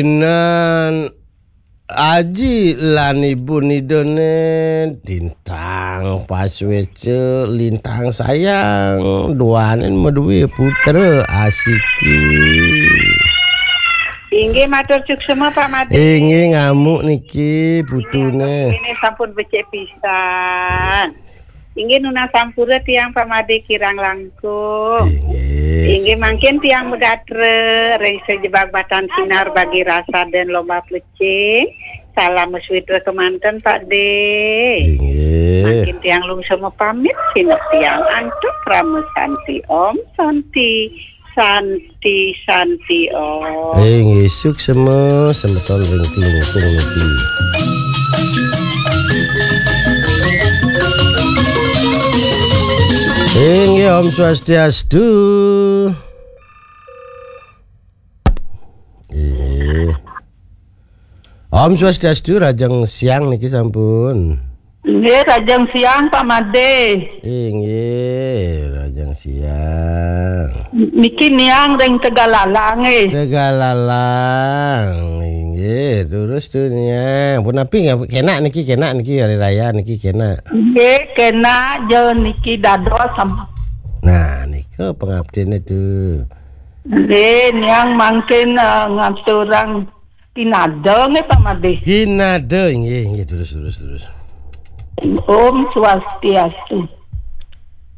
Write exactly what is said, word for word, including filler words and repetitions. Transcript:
Inan Aji lan Ibu Nidone, Lintang Paswece, Lintang Sayang, duanen maduwe putra asiki. Inggih matur suksema, Pak Made. Inggih ngamuk niki putune. Ini sampun becik pisan. Inggih nunas sampura tiang Pak Made kirang langkung. Inggih. Inggih mangkin tiang megatra ring sajebag batan sinar bagi rasa dan lomba plecing. Salam suwitra kemanten Pak De. Inggih. Mangkin tiang lungsur mapamit, sineb tiang antuk Parama Santi. Om Santi, Santi, Santi Om. Inggih suksema semeton ring klungkung niki. Inggih Om Swastiastu. Inggih. Om Swastiastu, rahajeng siang niki sampun. Nggih, rahajeng siang Pak Made. Inggih, rahajeng siang. Niki niang ring Tegalalang nggih. Tegalalang. Inggih, terus tu niang. Punapi nggih, kenak niki, kenak niki hari raya niki kenak. Nggih, kenak je niki dados sam- Nah, nika pangabdine tu. Nggih, niang mangkin eh, ngaturang kinada nggih Pak Made. Kinada, inggih, inggih, terus, terus, terus. Om Swastiastu.